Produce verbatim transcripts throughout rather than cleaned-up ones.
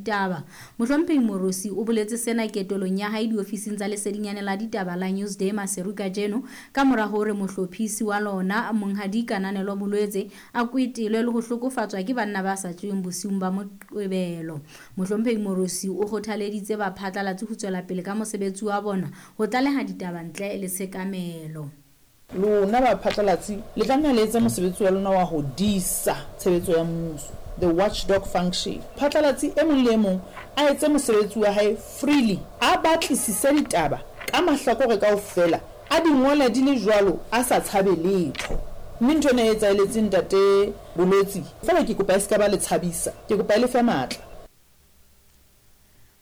ditaba. Mohlomphehi Moorosi o boletse sena ketolong ya hae diofising tsa lesedinyane la ditaba la Newsday Maseru kajeno ka mora hore mohlophisi wa lona Monghadi Kananelo Bolwetse a kwetelwe le ho hlokofatswa ke banna ba sa tsweng bosiung ba Moqebelo. Mohlomphehi Moorosi o kgothaleditse baphatlalatsi ho tswela pele ka mosebetsi wa bona ho tlaleha ditaba ntle le tshekamelo. Lona baphatlalatsi le tlameha le etse mosebetsi wa lona wa ho disa tshebetso ya mmuso, the watchdog function. Phatlalatsi e mong le e mong a etse mosebetsi wa hae freely, a batlisise ditaba ka mahlakore kaofela, a di ngole di le jwalo a sa tshabe letho. Mme ntho ena e etsaheletseng ntate Bolwetse, feela ke kopa e se ka ba le tshabisa, ke kopa e le fe matla.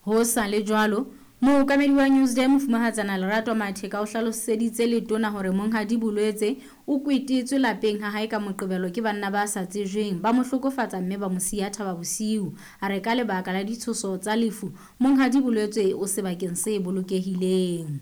Ho sa le jwalo, mookamedi wa Newsday Mofumahatsana Lerato Matheka o hlaloseditse letona hore Monghadi Bolwetse o kwetetswe lapeng ha hae ka Moqebelo ke banna ba sa tsejweng, ba mo hlokofatsa mme ba mo siya thaba bosiu. A re ka lebaka la ditshoso tsa lefu, Monghadi Bolwetse o sebakeng se bolokehileng.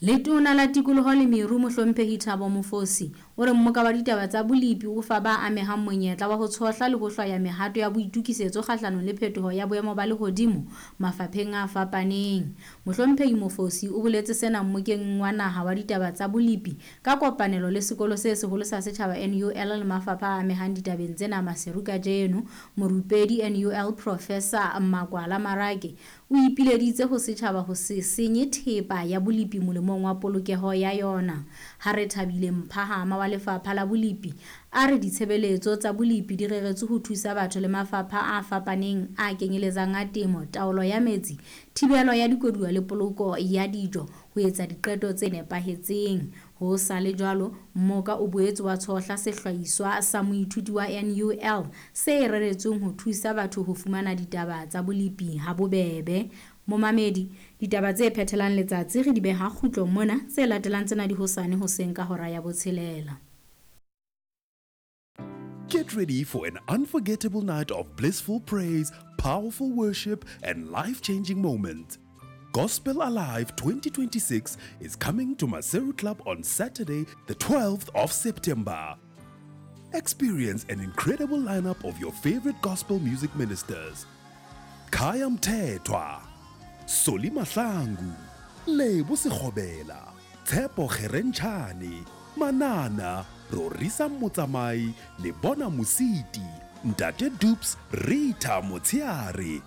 Letona la tikoloho le meru Mohlomphehi Thabo Mofosi o re mmoka wa ditaba tsa bolepi o fa ba amehang monyetla wa ho tshohla le ho hlwaya mehato ya boitokisetso kgahlanong le phetoho ya boemo ba lehodimo mafapheng a fapaneng. Mohlomphehi Mofosi o boletse sena mmokeng wa naha wa ditaba tsa bolepi ka kopanelo le sekolo se seholo sa setjhaba N U L le mafapha a amehang ditabeng tsena Maseru kajeno. Morupedi N U L Professor Makwala Marake o ipileditse ho setjhaba ho se senye thepa ya bolepi molemong wa polokeho ya yona. Ha re thabile Mphahama wa lefapha la bolepi a re ditshebeletso tsa bolepi di reretswe ho thusa batho le mafapha a fapaneng a kenyeletsang a temo, taolo ya metsi, thibelo ya dikoduwa le poloko ya dijo ho etsa diqeto tse nepahetseng. Ho sa le jwalo, mmoka o boetse wa tshohla sehlahiswa sa moithuti wa N U L se reretsweng ho thusa batho ho fumana ditaba tsa bolepi ha bobebe. Momamedi, ditaba tse phethelang letsatsi re di beha kgutlo mona, tse latelang tsena di hosane hoseng ka hora ya botshelela. Get ready for an unforgettable night of blissful praise, powerful worship, and life-changing moments. Gospel Alive twenty twenty-six is coming to Maseru Club on Saturday, the twelfth of September. Experience an incredible lineup of your favorite gospel music ministers. Khaya Mthethwa, Solly Mahlangu, Lebo Sekgobela, Tshepo Kgerentshane, Manana, Rorisa Motsamai, Lebona Mositi, Ntate Dupes, Rita Motsiare,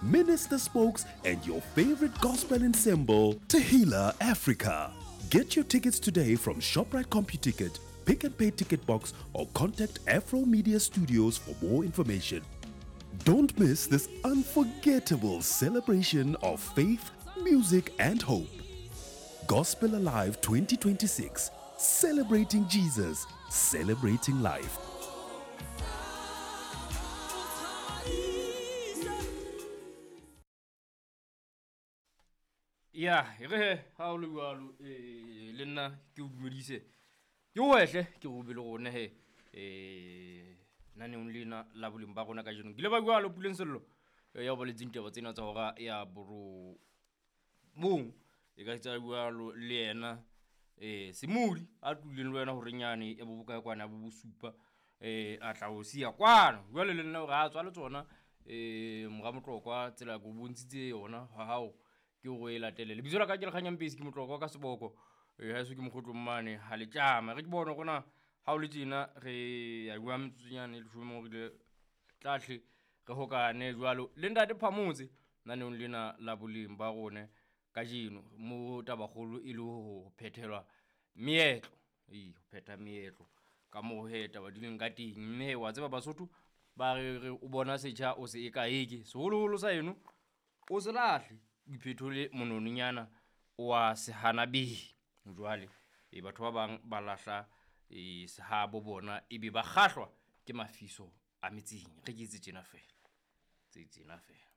Minister Spokes, and your favorite gospel ensemble, Tehila Africa. Get your tickets today from ShopRite CompuTicket, Pick and Pay Ticket Box, or contact Afro Media Studios for more information. Don't miss this unforgettable celebration of faith, music, and hope. Gospel Alive twenty twenty-six, celebrating Jesus, celebrating life. Ya, re ha o le jwalo, eh le nna ke o dumedise. Ke wehle ke go be le rona he eh naneong lena la boleng ba rona kajeno. Ke ile ba jwalo Puleng Sello ya boletseng taba tsena tsa hora ya boro mong e ka tsa jwalo le yena eh Semodi a tlileng le wena hore nyane e bo bokae kwana bo bosupa eh a tla o siya kwana. Jwale le nna hore a tswa le tsona eh mora Motlokwa tsela go bontshitse yona ha hao ke go e latele. Lebitso la ka ke Lekganyang Pesi, ke Motlokwa ka seboko. Eh ha se ke mokgotlo mmane ha le tjama. Re ke bona rona ha o le tjena re ya bua metsotsonyane le leshome hore le tlahle re hokane jwalo le ntate Phamotse naneong lena la boleng ba rona kajeno mo tabakgolo e le ho phethelwa meetlo. Ee, ho phetha meetlo ka moo he taba di leng ka teng. Mme wa tseba Basotho ba re re o bona setjha o se ekaeke, seholoholo sa eno o se lahle, o iphethole monononyana wa sehanabehi. Jwale e batho ba bang ba lahla e sehabo bona ebe ba kgahlwa ke mafiso a metseng. Re ke tse tjena feela, tse tjena feela.